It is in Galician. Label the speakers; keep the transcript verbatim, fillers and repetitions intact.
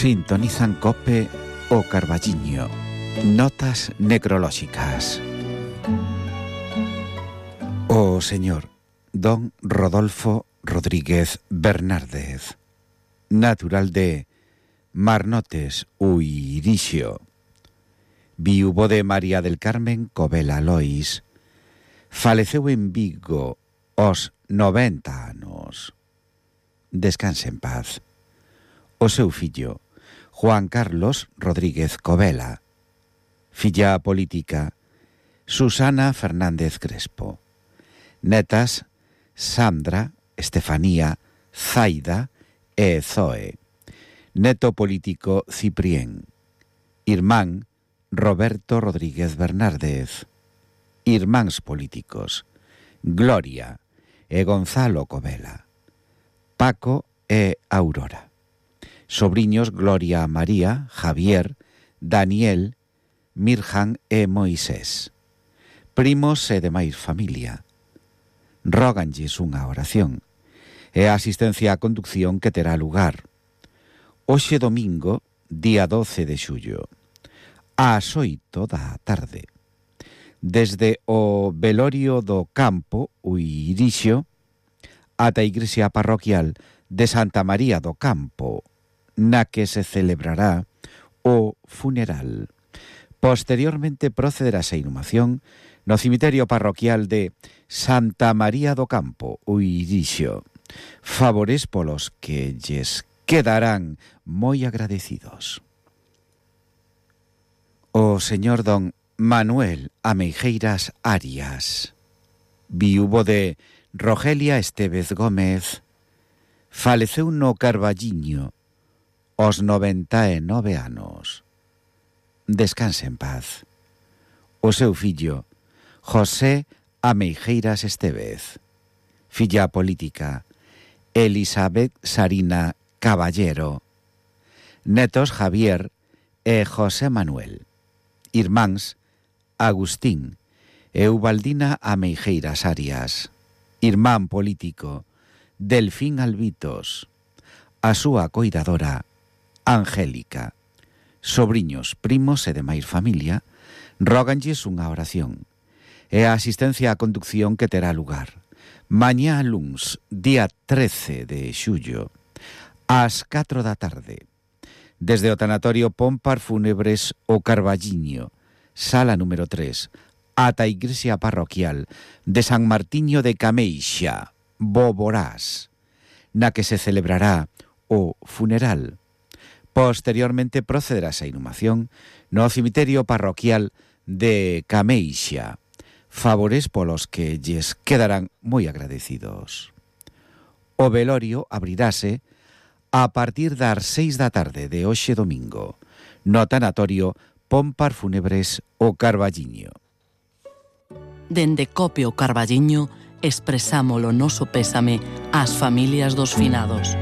Speaker 1: Sintonizan Cope o Carballiño. Notas necrolóxicas. O señor don Rodolfo Rodríguez Bernárdez, natural de Marnotes, Uirixio, viúvo de María del Carmen Covela Lois, faleceu en Vigo aos noventa anos. Descanse en paz. O seu fillo, Juan Carlos Rodríguez Covela, filla política, Susana Fernández Crespo, netas, Sandra, Estefanía, Zaida e Zoe, neto político Ciprién, irmán Roberto Rodríguez Bernárdez, irmáns políticos Gloria e Gonzalo Covela, Paco e Aurora, sobriños Gloria María, Javier, Daniel, Mirjan e Moisés, primos e demais familia. Róganlles unha oración e a asistencia á conducción que terá lugar hoxe domingo, día doce de xullo, ás oito da tarde, desde o velorio do campo Uirixio ata a igrexa parroquial de Santa María do Campo, na que se celebrará o funeral. Posteriormente procederá a inhumación no cemiterio parroquial de Santa María do Campo, Uirixio, favores polos que lles quedarán moi agradecidos. O señor don Manuel Ameijeiras Arias, viúvo de Rogelia Estevez Gómez, faleceu no Carballiño aos noventa e nove anos. Descanse en paz. O seu fillo, José Ameijeiras Estevez, filla política, Elizabeth Sarina Caballero, netos Javier e José Manuel, irmáns Agustín e Ubaldina Ameijeiras Arias, irmán político Delfín Albitos, a súa coidadora Angélica, sobriños, primos e demais familia, róganlles unha oración e a asistencia á conducción que terá lugar mañá luns, día trece de xullo, ás catro da tarde, desde o tanatorio Pompar Fúnebres o Carballiño, sala número tres, ata a igrexa parroquial de San Martiño de Cameixa, Boborás, na que se celebrará o funeral. Posteriormente procederá a inhumación no cemiterio parroquial de Cameixa, favores polos que lles quedarán moi agradecidos. O velorio abrirase a partir das seis da tarde de hoxe domingo, no tanatorio Pompar Fúnebres o Carballiño.
Speaker 2: Dende Cope o Carballiño expresamos o noso pésame ás familias dos finados.